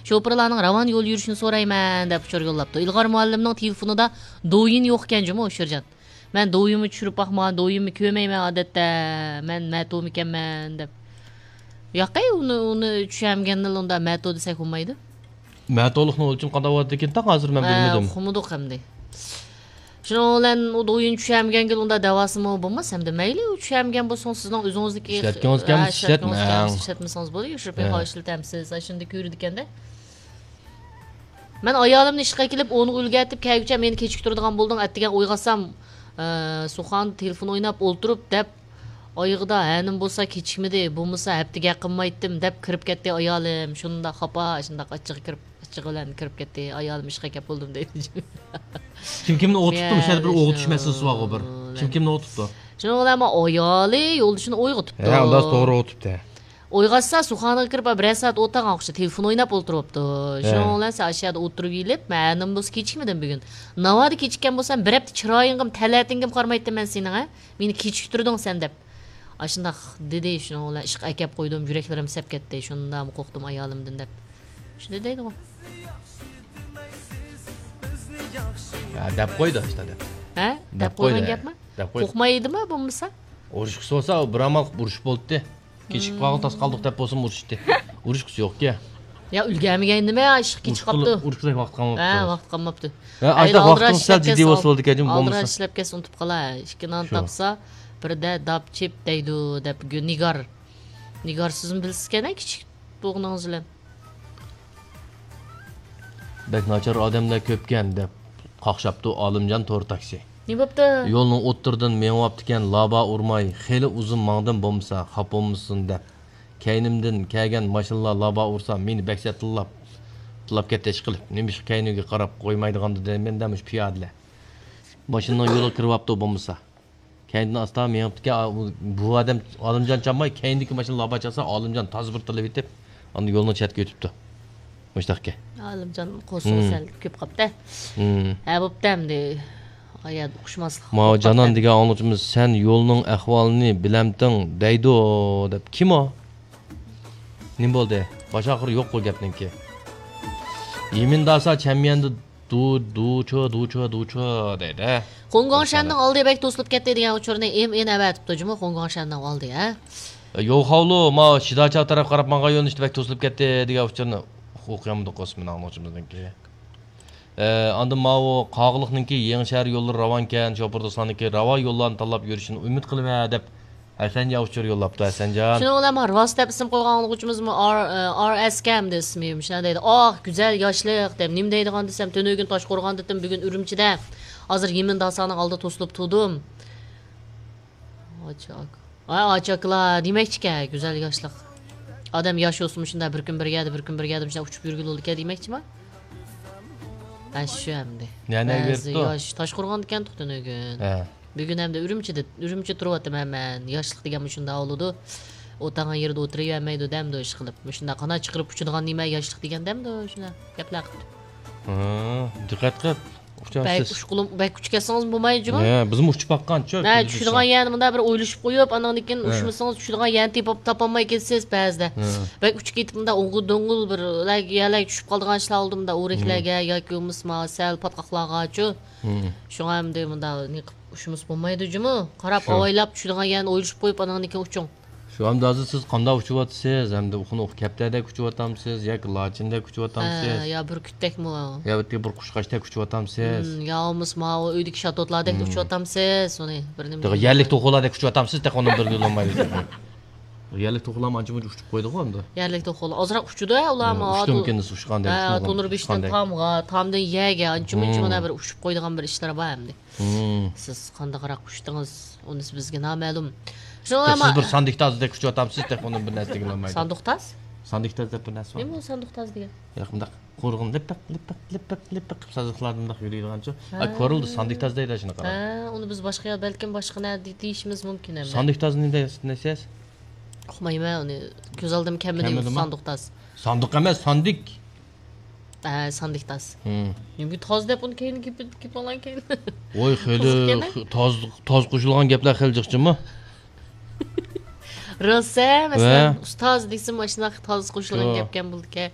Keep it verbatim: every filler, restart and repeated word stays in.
شوپۇرلارنىڭ راۋان يول يۈرۈشىنى سورايمەن دەپ ئۇچۇر يوللاپتۇ. ئىلغار مۇئەللىمنىڭ تېلېفونىدا دويىن يوق ئىكەن جۇمۇ، ئۇچۇرجان. مەن دويىنمۇ چۈشۈرۈپ باقمىغان، دويىنمۇ كۆرمەيمەن ئادەتتە. مەن مەتومىكەنمەن دەپ. ياقەي، ئۇنى، ئۇنى چۈشەنمىگەندىن ئۇندا مەتو دېسەك بولمايدۇ. مەتولۇقنىڭ ئۆلچىمى قانداق بولىدىكىن تاق ھازىر مەن ھە، بىلمىدىم. ئۇقمىدۇق ئەمدى. شۇنىڭ بىلەن ئۇ دويىن چۈشەمگەنگە ئۇنداق دەۋاسىمۇ بولماس ئەمدى. مەيلى، ئۇ چۈشەمگەن بولسىڭىز، سىزنىڭ ئۆزىڭىزنىڭكى ئىشلەتكىڭىز كەلمىسە ھە، ئىشلەتمەڭ. ئىشلەتمىسىڭىز بولدى. يوشۇرۇپ ھە. ئىشلىتەمسىز، ئاشۇنداق كۆرىدىكەندە. مەن ئايالىمنى ئىشقا ئەكېلىپ، ئونغا ئۈلگەرتىپ، كەلگۈچە مېنى كېچىكتۈرىدىغان بولدۇڭ. ئەتىگەن ئويغاتسام، ئە، سۇخاندا تېلېفون ئويناپ ئولتۇرۇپ دەپ، ئايىغىدا ھەنىم بولسا كېچىكمىدى، بولمىسا ھەپتىگە قىلمايتتىم دەپ كىرىپ كەتتى ئايالىم. شۇنداق خاپا، شۇنداق ئاچچىقى كىرىپ، ئاچچىقى بىلەن كىرىپ كەتتى. ئايالىم ئىشقا كەپ بولدۇم دەيدۇ. كىم كىمنى ئويغىتىپتۇ؟ مۇشۇ يەردە بىر ئويغىتىش مەسىلىسى بارغۇ بىر. كىم كىمنى ئويغىتىپتۇ؟ شۇنىڭ بىلەن ئايالى يولدىشىنى ئويغىتىپتۇ. ھە، ئۇنداق توغرا ئويغىتىپتۇ. ئويغاتسا، سۇخانىغا كىرىپ، بىرەر سائەت ئولتۇرغان ئوخشاش، تېلېفون ئويناپ ئولتۇرۇپتۇ. ھە. شۇنىڭ بىلەن سەن ئاشۇ يەردە ئولتۇرۇپ يېلىپ، مەن بولسا كېچىكمىدىم بۈگۈن. ناۋادا كېچىككەن بولسام، بىر ھەپتە چىرايىڭغىمۇ، تەلەتىڭگىمۇ قارىمايتتىم مەن سېنىڭ، ھە؟ مېنى كېچىكتۈردۈڭ سەن دەپ. ئاشۇنداق دېدى، شۇنىڭ بىلەن ئىشقا ئەكەپ قويدۇم، يۈرەكلىرىم سەپ كەتتى، شۇنداقمۇ قورقتۇم ئايالىمدىن دەپ. شۇنداق دەيدىغۇ. ھە، دەپ قويدى، ئىشتا دەپ. ھە؟ دەپ دەپ قويدى، قويغان ھە. گەپمۇ؟ دەپ قويدى. قورقمايدىمۇ بولمىسا؟ ئۇرۇشقا سولسا، بىر ئامال ئۇرۇشۇپ بولاتتى. كېچىكىپ قالغان تاس قالدۇق دەپ بولسىمۇ ئۇرۇشتى. ئۇرۇشقۇسى يوقكەن. يا ئۈلگەرمىگەن نېمە، ئىشقا كېچىكىپ قاپتۇ. ئۇرۇشقۇدەك ۋاقىت قالماپتۇ. ھە، ۋاقىت قالماپتۇ. ھە، ئاشۇنداق ۋاقتىڭىز سەل جىددىي بولسا بولىدىكەن، جۇمۇ ئالدىراش بولمىسا. ئىشلەپ كەتسە ئۇنتۇپ قالا. ئىككى نان شۇ. تاپسا، بىردە داپ چىپ دەيدۇ دەپ نىگار. نىگار سىزمۇ بىلىسىزكەن، كىچىك بولغىنىڭىز بىلەن. بەك ناچار ئادەملەر كۆپكەن، دەپ قاقشاپتۇ ئالىمجان تور تاكسى. نېمە بوپتۇ؟ يولنىڭ ئوتتۇرىدىن مېڭىۋاپتىكەن، لابا ئۇرماي، خېلى ئۇزۇن ماڭدىم بولمىسا، خاپا بولمىسۇن دەپ. كەينىمدىن كەلگەن ماشىنىلار لابا ئۇرسا، مېنى بەك سەت تىللاپ، تىللاپ كەتتى ئىشقىلىپ. نېمىشقا كەينىگە قاراپ قويمايدىغاندۇ دەيمەن دە، مۇشۇ پىيادىلەر. ماشىنىنىڭ يولىغا كىرىۋاپتۇ بولمىسا. كەينىدىن ئاستا مېڭىپتىكەن، ئا، بۇ، بۇ ئادەم ئالىمجان چالماي، كەينىدىكى ماشىنا لابا چالسا، ئالىمجان تازا بىر تىللىۋېتىپ، ئاندىن يولنىڭ چەتكە ئۆتۈپتۇ. مۇشۇنداقكەن. ئالىمجان قورسىقى مم. سەل كۆپ قاپتۇ. مم. ھە، بوپتۇ ئەمدى. ئايا ئۇقۇشماسلىق ماۋۇ بولۇپ جانان قاپتۇ. دېگەن ئاڭلىغۇچىمىز، «سەن يولنىڭ ئەھۋالىنى بىلەمتىڭ» دەيدۇ، دەپ. كىم ئۇ؟ نېمە بولدى؟ باش ئاخىرى يوق بۇ گەپنىڭكى. يىمىنداسا چەنميەندە دۇ، دۇچۇ، دۇچۇ، دۇچۇ دەيدۇ. خۇڭگۇڭشەننىڭ ئالدى بەك توسۇلۇپ كەتتى دېگەن ئۇچۇرنى ئېم ئېن ئەۋەتىپتۇ جۇمۇ، خۇڭگۇڭشەننىڭ ئالدى، ھە؟ يوخاۋلۇ، ماۋۇ شىداچاۋ تەرەپ قاراپ ماڭغان يۆنىلىشتە بەك توسۇلۇپ كەتتى دېگەن ئۇچۇرنى ئوقۇيالمىدۇق ئوسمان ئاڭلىغۇچىمىزنىڭكى. ئە، ئاندىن ماۋۇ قاغىلىقنىڭكى يېڭى شەھەر يوللىرى راۋانكەن، شوپۇر دوستلارنىڭكى راۋان يوللارنى تاللاپ يۈرۈشىنى ئۈمىد قىلىمەن دەپ ھەسەنجان ئۇچۇر يوللاپتۇ، ھەسەنجان. شۇنىڭ بىلەن مانا راست دەپ ئىسىم قويغان ئاڭلىغۇچىمىزمۇ ئار، ئار ئەس كەن ئەمدى ئىسمى، مۇشۇنداق دەيدۇ، ئاھ، گۈزەل ياشلىق دەپ. نېمە دەيدىغان دېسەم، تۈنۈگۈن تاشقورغاندىتىم، بۈگۈن ئۈرۈمچىدە. ھازىر يىمىن داسانىڭ ئالدىدا توسۇلۇپ تۇردۇم. ئاچاك. ۋاي ئاچاكلا، دېمەكچىكەن، گۈزەل ياشلىق. ئادەم ياش بولسىمۇ شۇنداق بىر كۈن بىر يەردە، بىر كۈن بىر يەردە مۇشۇنداق ئۇچۇپ يۈرگىلى بولىدىكەن دېمەكچىما؟ ھە، شۇ ئەمدى. يەنە بەزى ياش تاشقورغاندىكەن تۇغ تۈنۈگۈن. ھە. بۈگۈن ئەمدى ئۈرۈمچىدە، ئۈرۈمچىدە تۇرۇۋاتىمەن مەن. ياشلىق دېگەن مۇشۇنداق بولىدۇ. ئولتۇرغان يېرىدە ئولتۇرۇۋەرمەيدۇ دەمدۇ ئىشقىلىپ. مۇشۇنداق قانات چىقىرىپ ئۇچىدىغان نېمە ياشلىق دېگەن دەمدۇ شۇنداق گەپلەر قىلىپ. ھە، دىققەت قىل. بەك ئۇچقۇلۇم، بەك ئۇچۇپ كەتسىڭىز بولمايدۇ جۇمۇ. ھە، بىزمۇ ئۇچۇپ باققانچۇ. ھە، چۈشىدىغان يەرنى مۇنداق بىر ئويلىشىپ قويۇپ، ئاندىن كېيىن ھە. ئۇچمىسىڭىز چۈشىدىغان يەرنى تېپىپ تاپالماي كېتىسىز بەزىدە. ھە. بەك ئۇچۇپ كېتىپ مۇنداق ئوڭغۇل دوڭغۇل بىر يەرلەرگە چۈشۈپ قالىدىغان ئىشلار بولدى مۇنداق ئورەكلەرگە ياكى بولمىسا سەل پاتقاقلارغاچۇ. ھە. شۇڭا ئەمدى مۇنداق نېقىپ ئۇچمىسا بولمايدۇ جۇمۇ. قاراپ ئاۋايلاپ چۈشىدىغان يەرنى ئويلىشىپ قويۇپ ئاندىن كېيىن ئۇچۇڭ. شۇ ئەمدى ھازىر سىز قانداق ئۇچۇۋاتىسىز؟ ئەمدى ئۇخۇن ئوخ كەپتەردەك ئۇچۇۋاتامسىز ياكى لاچىندەك ئۇچۇۋاتامسىز؟ ھە، يا بۈركۈتتەكمۇ؟ يا بىر قۇشقاچتەك ئۇچۇۋاتامسىز؟ ھىم، يا بولمىسا ماۋۇ ئۆيدىكى شاتوتلاردەك ئۇچۇۋاتامسىز؟ ئۇنى بىر نېمە تېخى دېگىنى يەرلىك توخۇلاردەك ئۇچۇۋاتامسىز؟ تېخى ئۇنىڭ بىر بىلمايدۇ. يەرلىك توخۇلارمۇ ئانچە مۇنچە ئۇچۇپ قويدىغۇ ئەمدى. يەرلىك توخۇلا ئازراق ئۇچىدۇ ئۇلارمۇ. ئۇچتىمىكىن ئۇچقاندەك؟ ھە، تونۇر بېشىدىن تامغا، تامدىن يەرگە ئانچە مۇنچە مانا بىر ئۇچۇپ قويىدىغان بىر ئىشلىرى بار ئەمدى. ھىم. سىز قانداقراق ئۇچتىڭىز، ئۇنىسى بىزگە نامەلۇم. شۇڭا سىز بىر ساندىكتازدەك ئۇچۇۋاتامسىز، تېخى ئۇنى بىر نەرسە دېگىلى بولمايدۇ. ساندۇقتاز؟ ساندىكتاز دەپ بىر نەرسە بار. نېمە ئۇ ساندۇقتاز دېگەن؟ ياق، مۇنداق قۇرغىن لىپپىق، لىپپىق، لىپپىق، لىپپىق قىلىپ سازلىقلاردا مۇنداق يۈرىدىغانچۇ. ھە. ھە، كورلىدى، ساندىكتاز دەيدۇ شۇنى قاراڭ. ھە، ئۇنى بىز باشقا يەر، بەلكىم باشقا نەدە دېيىشىمىز مۇمكىن ئەمدى. ساندىكتازنى دەيسىز؟ ئۇقمايمەن ئۇنى. كۆز ئالدىمغا كەلمىدى ساندۇقتاز. ساندۇق ئەمەس، ساندىك. ھە، ساندىك تاز. ھىم. نېمىگە تاز دەپ ئۇنى كەينىگە كېپىپ، كېپىپ ئالغان كەينى؟ ۋاي، خېلى تاز، تاز قوشۇلغان گەپلەر خېلى جىقچىمۇ؟ راست ھە، مەسىلەن، ۋە ئۇستاز دېسىمۇ ئاشۇنداق تاز قوشۇلغان گەپكەن بولىدىكەن.